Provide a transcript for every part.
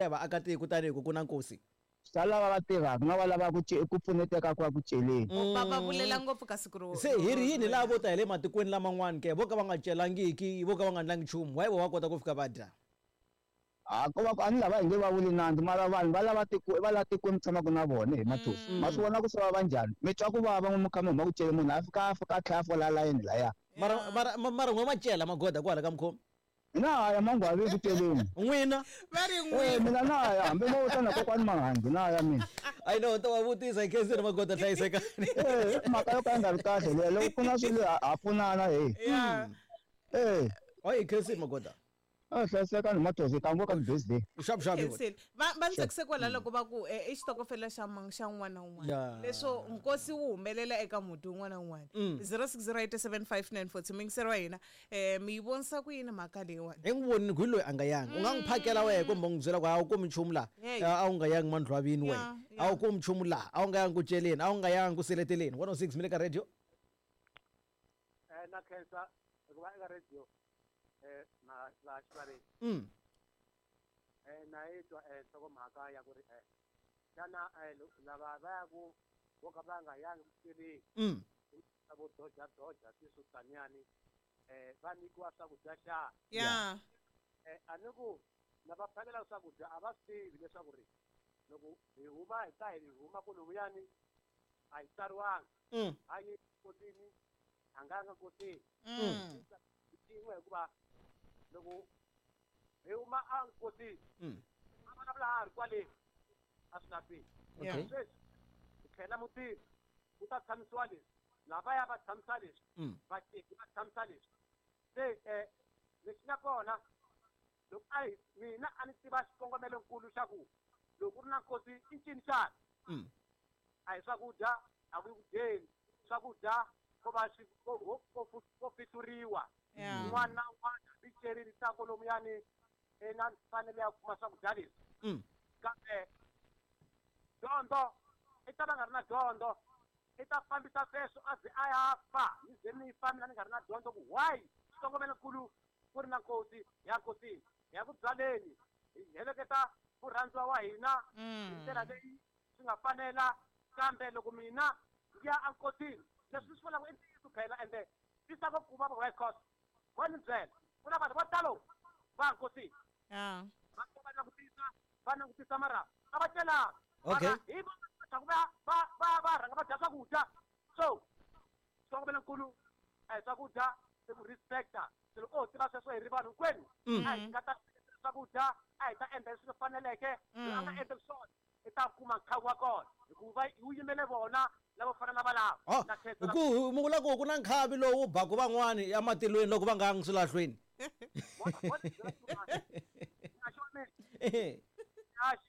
Ya vaakatiko tanihi ku ku na nkosi. Swa lava va tirhaka na va lava ku ku pfuneteka ku ya ku celeni. Va va vulela ngopfu ka siku ro Se hi ri yini lava vo ta hi le matikweni laman'wana ke vo ka va nga celangiki, vo ka va nga ndlangi nchumu, why vo va kota ku fika va dya? Ha ko va ku a ni lava hi nge va vuli nandzu mara vanhu va lava tiko va la tikweni mi tshamaka na vona he Mathosi. Ma swi vona ku se va va njhani? Mi twa ku vava n'wi mi kha mi huma ku celeni munhu a fika a fika a tlhela a fola layeni laya. Mara mara mara n'we ma cela magoda kwala ka mukhomi? Na ha ya mangwavi ku celeni. N'wina? Va ri Eh, n'wina. mina na ha ya hambi mo ta na kokwani Mahangi na ha ya mina. I know ta va vutisa hi khenseni magoda hlayisekani. Eh, i mhaka yo ka yi nga ri kahle leya loko ku na swilo ha ha pfunana he. Yeah. Eh, Hayi hi khensini magoda. a hlayisekani Mathosi hi ta ngo ka birthday. Xapu xapu. Khensile. Va va ni tsakise kwala loko va ku eh, i xitokofela xa mang xa un'wana na un'wana. Yeah. Leswo nkosi wu humelela eka muti un'wana na un'wana. 06087594 muyingiseri wa hina eh mi yi vonisa ku yini mhaka leyiwani? Hi n'wi vonini ku hi loyi a nga yangi. U nga n'wi phakela wehe kumbe u n'wi byela ku a wu kumi nchumu laha. Hey. A wu nga yangi mandlwavini wehe. Yeah, A wu kumi nchumu laha. A wu nga yangi ku celeni, a wu nga yangi ku seleteleni. 106 mi le ka radio. Eh, na khensa hikuva eka radio eh na laha xivaleni eh na yi twa eh nhlokomhaka ya ku ri eh xana eh lava va ya ku vo ka va nga yangi ku celeni vo doja doja sweswo taniyani eh va nyikiwa swakudya xana Yeah. eh a ni ku lava phakelaka swakudya a va swi tivi leswaku ri loko hi huma hi ta hi huma kolomuyani a hi tsariwanga a yi nkosini a nga nga nkosini xin'we hikuva loko hi huma a nkosini a vulavula ha ri kwale a swi lahlweni Okay. sweswi hi tlhela mutini ku ta tshamisiwa leswi lavaya va tshamisa leswi vateki va tshamisa leswi se um lexi nga kona loko a hi mina a ni tiva xikongomelonkulu xa ku loko ku ri na nkosi i ncini xana a hi swakudya a ku yi ku dyeni swakudya ko va swi ko ko- ko ko fihluriwa Yeah. un'wana na un'wana hambi cerini ta kolomuyani i na mfanelo ya ku kuma swakudya leswi kambe dyondzo i ta va nga ri na dyondzo i ta fambisa sweswo a ze a ya fa ni ze ni fa mina ni nga ri na dyondzo ku why xikongomelonkulu ku ri na nkosi ya nkosini hi ya ku byaleni hi heleketa murhandziwa wa hina hi ndlela leyi swi nga fanela kambe loko mina ndzi ya enkosini leswi swi vulaka i ntiyiso phela ende tisa vo kuma va cost wa ni byela ku na vanhu vo talo va nkosini Yeah. va va langutisa va langutisa mara a va celanga Okay. mara hi vona va va va va va rhanga va dya swakudya so xikongomelonkulu a hi swakudya i ku respecta se loko o tiva sweswo hi ri vanhu hinkwenu a hi nga ta swakudya a hi ta endla leswi faneleke loyi a nga endleki swona i ta kuma nkhawu wa kona hikuva wu yimele vona lavo fana na valava Oh, Na khensa la- ku mi vula ku ku na nkhavi lowu baku van'wani ematilweni loko va nga yangi swilahlweni. Vona- vona byela xin'wana. Nga xi wa mina, haxi.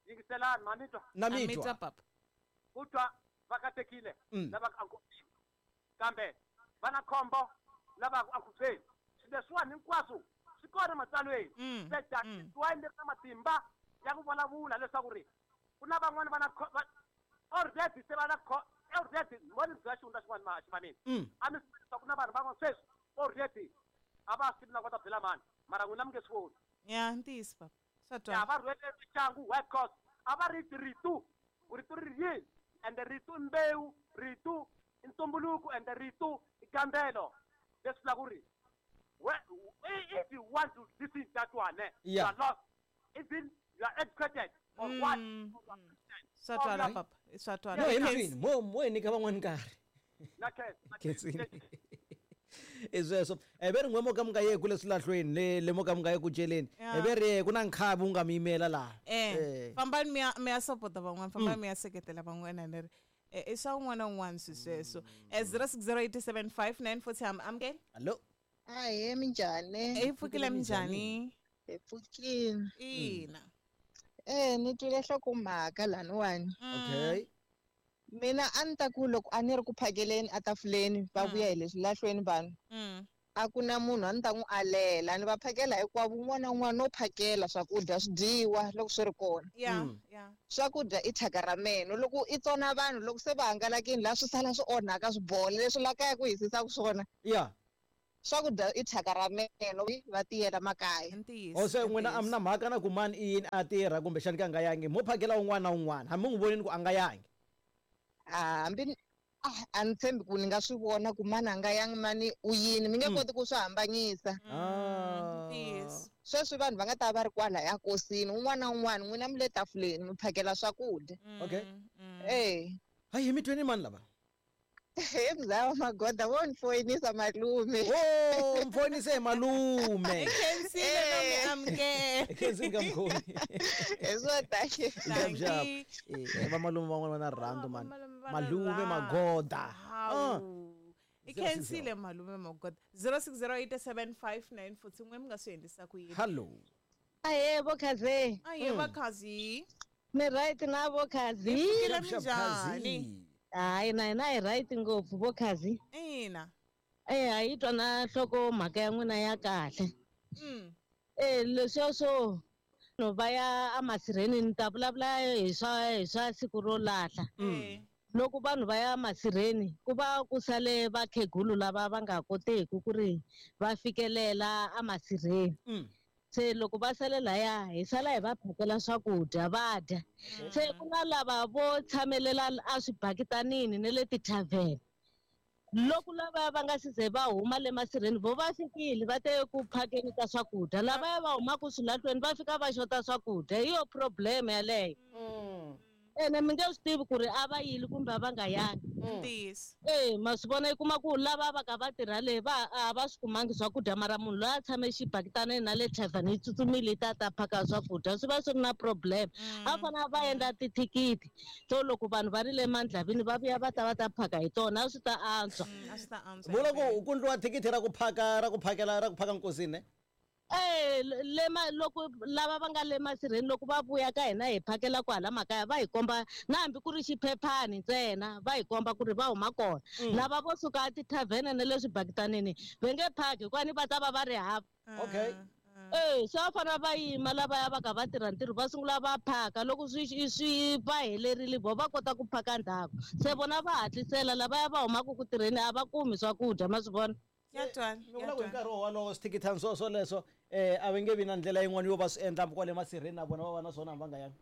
Yingiselani ma mi twa Na A mi mi twa twa. papa. ku twa va katekile lava ku ankosini kambe va na khombo lava ku ankhubyeni swilo leswiwani hinkwaswo swi kona ematsalweni se tatiwani leri na matimba ya ku vulavula leswaku ri ku na van'wani va na already se va na already mo ni byela xihundla xin'wana ma ximanini a mi swi leswaku ku na vanhu van'wana sweswi already a va swi tivi na ku va ta byela mani mara n'wina mi nge swi voni Yeah, ntiyiso papa. Swa ya twala. va rhwele maxangu white cross a va ri ritu ku rito ri ri yini ende rito i mbewu rito i ntumbuluko ende rito i gambelo leswi vulaka ku ri if you want to listen that one eh, Yeah. you are lost even you are educated or what or you are Christian, Swa or you twala are- papa. Swa twala. No hi Khensi. mahlweni mo mo hi nyika van'wani nkarhi. Na khensa, na khensa. Khensini. I sweswo. Eh ve ri n'we mo ka mi nga ye kule swilahlweni le le mo ka mi nga ye ku celeni. Yeah. Eh ve ri ku na nkhavi wu nga mi yimela laha. Eh, fambani mi ya mi ya sapota van'wana, fambani mi ya seketela van'wana ni ri eh, i swa un'wana na un'wana swi sweswo. Eh 06087594 ham amukela. Hallo. Ahee, minjhani? Hi pfukile minjhani? Hi pfukile. Ina. Eh, ni twile nhlokomhaka laniwani. Okay. Mina a ni ta ku loko a ni ri ku phakeleni etafuleni va vuya hi le swilahlweni vanhu a ku na munhu a ni ta n'wi alela ni va phakela hinkwavo un'wana na un'wana no phakela swakudya swi dyiwa loko swi ri kona. Yeah, yeah. Swakudya i thyaka ra meno loko i tsona vanhu loko se va hangalakini laha swi sala swi onhaka swi bola leswi la kaya ku hisisaka swona Yeah. Swakudya i thyaka ra meno va tiyela makaya. Ntiyiso. O se n'wina a mi na mhaka na ku mani i yini a tirha kumbexani ka a nga yangi, mo phakela un'wana na un'wana hambi mi n'wi vonini ku a nga yangi. Hambi a ni tshembi ku ni nga swi vona ku mani a nga yangi mani u yini, mi nge koti ku swi hambanyisa. Ntiyiso. Sweswi vanhu va nga ta va ri kwalaya nkosini, un'wana na un'wana n'wina mi le tafuleni mi phakela swakudya. Okay. Eh. Hayi hi mi tweni mani lava? He mzaya magoda vo ni foyinisa malume. Oh, mfoyinise malume. Khensile no mi amukela. Khensile ka mkhomi. Hi swo thank Xap. Eh, va malume van'wana va na rirhandzu mani. Malume magoda. Hawu. I khensile malume magoda. 06087594 n'we mi nga swi endlisa ku yini? Hello. Ahe vo Khazi. Ahe va Khazi. Mi right na vo Khazi? Pfukile minjhani? Hayi na hina hi right ngopfu vo Khazi. Ina. Eh ha yi twa na nhloko mhaka ya n'wina ya kahle. Eh leswiya swo no va ya emasirheni ni ta vulavula hi swa siku ro lahla. Loko vanhu va ya masirheni ku va ku sale vakhegulu lava va nga koteki ku ri va fikelela emasirheni. Se loko va sale laya hi sala hi va phakela swakudya va dya. Se ku na lava vo tshamelela a swibakitanini ne le tithavheni. Loko lava va nga si ze va huma le masirheni vo va fikile va te ku phakeni ka swakudya, lavaya va humaka swilahlweni va fika va xota swakudya. Hi yo problem yaleyo. Ene mi nge swi tivi ku ri a va yile kumbe a va nga yangi. Ntiyiso. Eh, ma swi vona i kuma ku lava va ka va tirha le va a va swi kumangi swakudya, mara munhu loyi a tshame xibakitaneni na le thavheni yi tsutsumile yi ta ta phaka swakudya, swi va swi ri na problem. A fanele va endla tithikithi to loko vanhu va ri le mandlavini va vuya va ta va ta phaka hi tona, a swi ta antswa. A swi ta antswa. Vula ku ku ndliwa thikithi ra ku phaka ra ku phakela ra ku phaka nkosini ne? Eh, le ma loko lava va nga le masirheni loko va vuya ka hina hi phakela kwala makaya va hi komba na hambi ku ri xiphephani ntsena va hi komba ku ri va huma kona. Lava vo suka a tithavhene na le swibakitanini va nge phaki hikuva ni va ta va va ri hava. Okay. Eh, se va fanele va yima lavaya va ka va tirha ntirho va sungula va phaka loko swi va helerile vo va kota ku phaka ndzhaku. Se vona va hatlisela lavaya va humaka ku tirheni a va kumi swakudya, ma swi vona. Ya twala, Ni vula ku hi nkarhi wolowo swithikithani swo swoleswo a va nge vi na ndlela yin'wana yo va swi endla kwale masirheni na vona va va na swona hambi va nga yangi.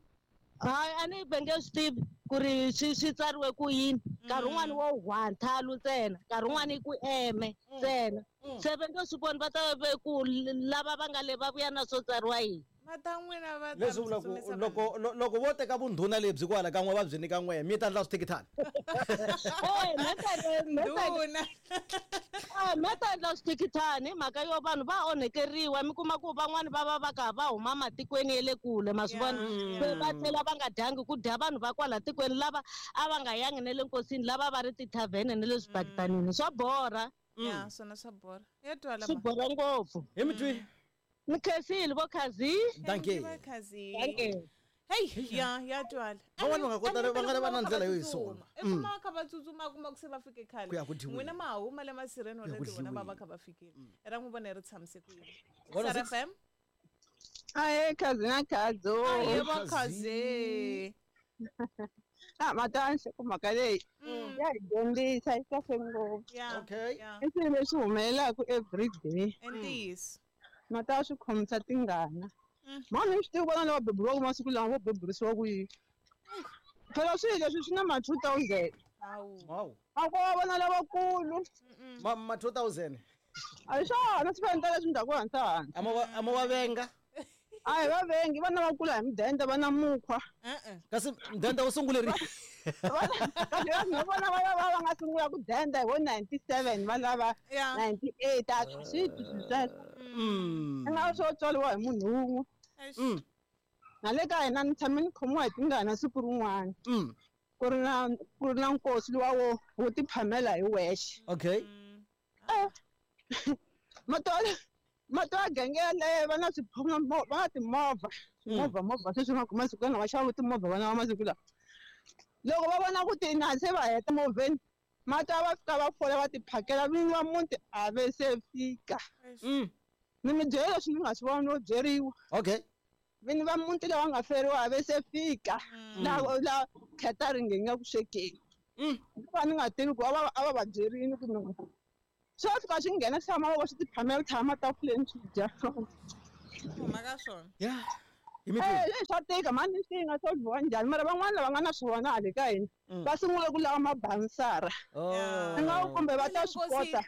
Hayi a ni va nge swi tivi ku ri swi tsariwe ku yini. Nkarhi wun'wani wo one thalu ntsena, nkarhi wun'wani i ku eme ntsena. Se va nge swi voni va ta ve ku lava va nga le va vuya na swo tsariwa yini. Va ta n'wina va ta Leswi vula ku tsutsumisa loko loko vo teka vundhuna lebyi kwala ka n'we va byi nyika n'we mi ta endla swithikithani. Eh, Ndhuna. Me ta endla swithikithani hi mhaka yo vanhu va onhekeriwa, mi kuma ku van'wani va va va ka va huma matikweni ya le kule, ma swi vona? Se va tlhela va nga dyangi ku dya vanhu va kwala tikweni lava a va nga yangi ne le nkosini, lava va ri tithavhene ne le swibakitanini. Swa borha. Ya, swona swa borha. Ya twala Swi ma. borha ngopfu. Hi mi twi? Ni khensile vo Khazi. Thank you. Khazi. Thank you. Hey, ya, ya twala. Van'wani va nga kota va nga va na ndlela yo yi sola. I kuma va kha va tsutsuma kuma ku se va fike khale. Ku ya ku dyiweni. N'wina ma ha huma le masirheni Ku ya ku already vona va va dyiweni. kha va fikile. Ra n'wi vona ri tshamise ku yini. Vona Sara six. FM? Ahe, Khazi na Khazo. Ahe, va Khazi. Ah, matani ku mhaka leyi ya hi dyondzisa yi kahle ngopfu. Okay. I swilo leswi humelelaka every day. Ntiyiso. Mata swi khomisa tingana. Mani swi tivi vona lava beburiwaka masiku lawa vo beburisiwa ku yini. Phela swilo leswi swi na ma 2000. Wow. A ko va vona lavakulu. Ma 2000. A hi swona swi fanele leswi ndhaku hansi hansi. A mo va venga. A hi va vengi, vana va kula hi mudende va na mukhwa. Kasi mudende wu sungule rini? Kasi vanhu vona va lava va nga sungula ku denda hi vo 97 va lava 98 a swi twi sweswo. I nga swo tswariwa hi munhu wun'we. Na le ka hina ni tshame ni khomiwa hi tingana siku rin'wana. Ku ri na nkosi luwa wo tiphamela hi wexe. Okay. Mato ya genge yaleyo va na va na timovha. Swimovha movha sweswi nga kuma siku lama va xava timovha vana va masiku lawa. Loko va vona ku tina se va heta movheni, mata va fika va fola va tiphakela vinyi va muti a ve se fika. Ni mi byela leswi ni nga swi vona no byeriwa. Okay. Vinyi va muti lava nga feriwa a ve se fika. La catering yi nga ku swekeni. Hikuva ni nga tivi ku a va va byerini ku ni. Swi fika swi nghena swi tshama swi ti phamela tshama tafuleni swi dya. Mhaka swona. Yeah. Swa tika mani swi nga solviwa njhani mara van'wana lava nga na swona hale ka hina va sungule ku lava mabansara. Nga kumbe va ta swi kota.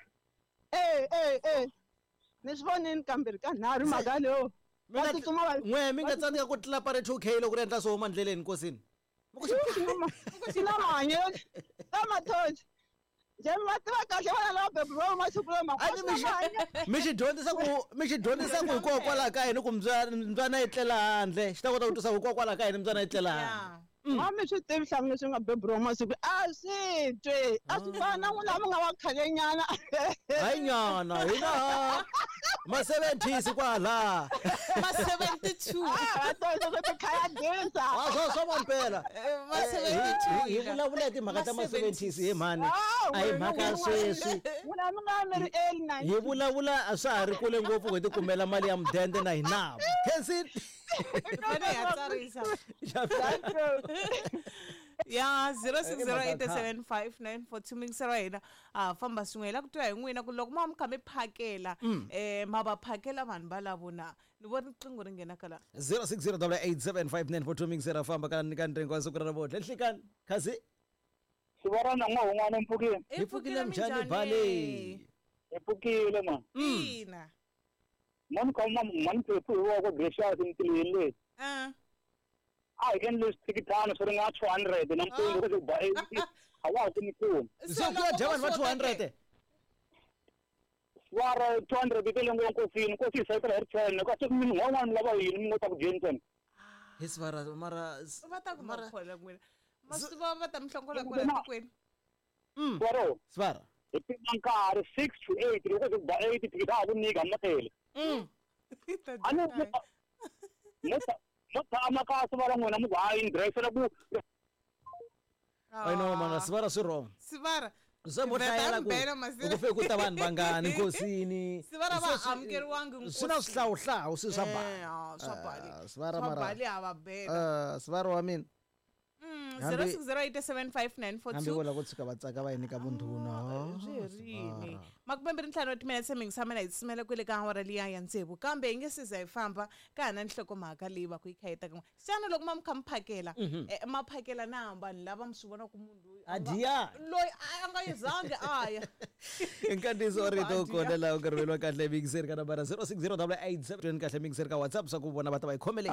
Ni swi vonini kambirhi ka nharhu mhaka leyo. Va tsutsuma va n'we mi nga tsandzeka ku tlula pare 2K loko ri endla swo huma ndleleni nkosini. Swi na mahanyelo ka mathonsi. Va tiva kahle vana lava beburiwa masiku lama. Mi xi dyondzisa ku hikokwalaho ka yini ku mbyana yi tlela handle xi ta kota ku twisa ku hikokwalaho ka yini mbyana yi tlela handle. A mi swi tivi hlamu leswi nga beburiwa masiku a swi twi a swi fana na n'wina mi nga wa khalenyana. Hayi nyana hina ma 70s kwala. Ma 72. Va tosa ku khaya disa. Swa mampela. Ma 72. Hi vulavula hi timhaka ta ma 70s he mhani. A hi mhaka sweswi. N'wina mi nga mi ri early 90s. Hi vulavula a swa ha ri kule ngopfu ku hi tikumela mali ya mudende na hina. Khensi. Ya tsarisa. Ya 06087594 mingisero hina a famba swin'we hi la ku twa hi n'wina ku loko ma mi kha mi phakela ma va phakela vanhu va lavona ni vona riqingho ri nghena kala 0608875942 mingisero famba ka ka ntsengo wa siku ra namuntlha nhlikani khazi Sivarana n'wa un'wana mpfukile. Hi pfukile mjani bale. Hi pfukile man. Ina. Mani ka mani phephu hi wa ku Gracious ntilweni leyi. A hi endle swithikithana swi ringana 200 nampundzu ku ba 80 a wa ha kumi nchumu. Se ku ya dya vanhu va 200. Swara 200 tele ngo nkosini nkosi yi sayitela hi ri 10 kasi munhu un'wana lava yini mi ngo ta ku dyeni ntsena. Hi swara mara va ta ku makhola n'wina. Masiva va ta mi hlongola kwala tikweni. Swara. Swara. Hi pima nkarhi 6 to 8 loko ku ba 8 thikithi a ha ku nyika matele. A ni mo tshama ka sivara n'wina mi ku hayi ni dirayisela ku I know mana sivara swi wrong. Sivara. Se mo hlayela ku ku fike ku ta vanhu vangani nkosini. Sivara va amukeriwangi nkosini. Swi na swihlawuhlawu swi swa bali. Swa bali. Sivara mara. Swa bali a va bela. Sivara wa mina. 0608759442 hambi vo lava ku tshuka va tsaka va yi nyika vundhuna byi herini 25 wa timinetse mingisa mina hi tsimela kwele ka awara liya ya tsevu kambe hi nge se za hi famba ka ha na nhlokomhaka leyi va ku yi kha yi ta kan'we xana loko ma mi kha mi phakela ma phakela na vanhu lava mi swi vona ku munhu loyi a diya loyi a nga yizangi a ya nkantiso wa rito kona laha u nga rhumeliwa kahle mixer ka nambara 060887 kahle mixer ka WhatsApp swa ku vona va ta va yi khomele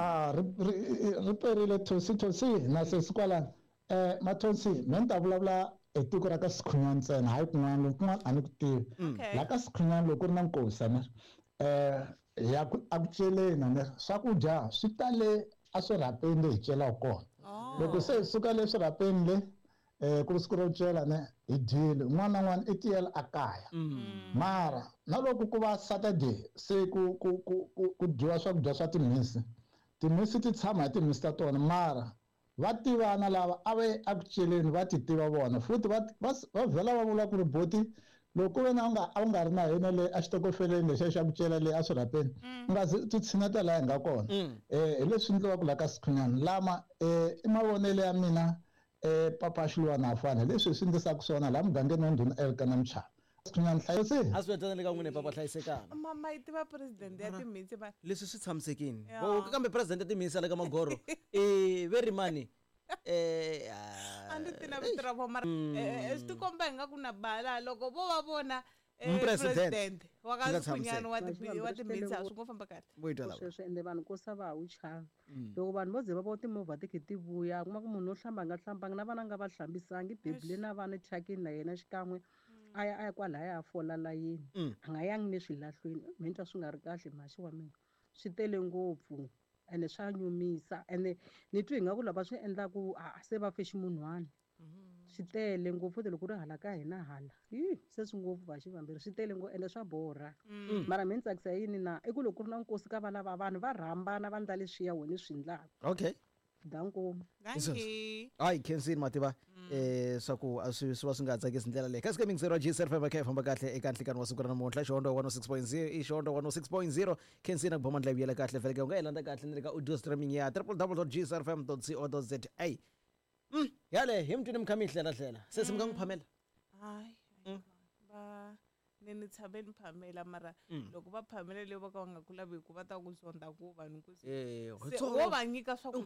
ri perile thosi thosi na sesi kwalano Mathonsi me ni ta vulavula hi tiko ra ka Sikhunyani ntsena hayi kun'wana loko kun'wana a ni ku tivi la ka Sikhunyani loko ku ri na nkosi a ni ya a ku celeni a ni swakudya swi tale a swirhapeni le hi celaka kona loko se hi suka le swirhapeni le ku ri siku ro cela ne hi dyile un'wana na un'wana i tiyela a kaya mara na loko ku va Saturday se ku ku ku ku dyiwa swakudya swa timhisi timhisi ti tshama hi timhisi ta tona mara va tivana lava a va a ku celeni va ti tiva vona futhi va vhela va vula ku ri boti loko wena a wu nga ri na hina le a xitokofeleni lexiya xa ku cela le a swirhapeni u nga zi ti tshineta laha hi nga kona hi leswi endliwaka laha ka Sikhunyani lama i mavonelo ya mina papa Xiluwana afana leswi hi swi endlisaka swona laha mugangeni wa ndhuna Elkana Mchava Sikhunyani hlayise a swi vitana le ka n'wina papa hlayisekana mama yi tiva president ya timhisi va leswi swi tshamisekini kambe president ya timhisi le ka Magoro very money a ndzi tina vito ra vona mara swi tikomba hi nga ku na bala loko vo va vona president wa ka Sikhunyani wa timhisi a swi ngo famba kahle sweswo ende vanhu ko sa va wu chava loko vanhu vo ze va vo timovha ti khe ti vuya kuma ku munhu wo hlamba nga hlambanga na vana nga va hlambisangi bebule na vana thyakini na yena xikan'we a ya kwalaya a fola layeni a nga yangi ne swilahlweni mi twa swi nga ri kahle mhaxi wa mina swi tele ngopfu ene swa nyumisa ene ni twi ingaku lava swi endlaku se va fe ximunhwana swi tele ngopfu futhi loko ri hala ka hina hala se swi ngopfu vaxi vambirhi swi tele ngopfu ende swa borha mara mi ni tsakisa yini na i ku loko ku ri na nkosi ka vana va vanhu va rhambana va ndla leswiya wena swi endlaka okay danko dankie hayi khensini mativa swa ku a swi va swi nga tsakisi ndlela leyi kasi ka mingisero wa GSR5 kha hi famba kahle eka nhlikani wa siku ra namuntlha Xihondzo 106.0 i Xihondzo 106.0 khensini ku boma ndlela yi vuyela kahle vhele u nga yi landza kahle ni le ka audio streaming ya www.gsrfm.co.za yale hi mutwini mi kha mi yi hlela hlela sesi mi nga n'wi phamela hayi va Ni tshame ni phamela mara loko va phamela leyi va ka va nga ku lavi ku va ta ku zonda ku vanhu ku Eh, se wo va nyika swakudya.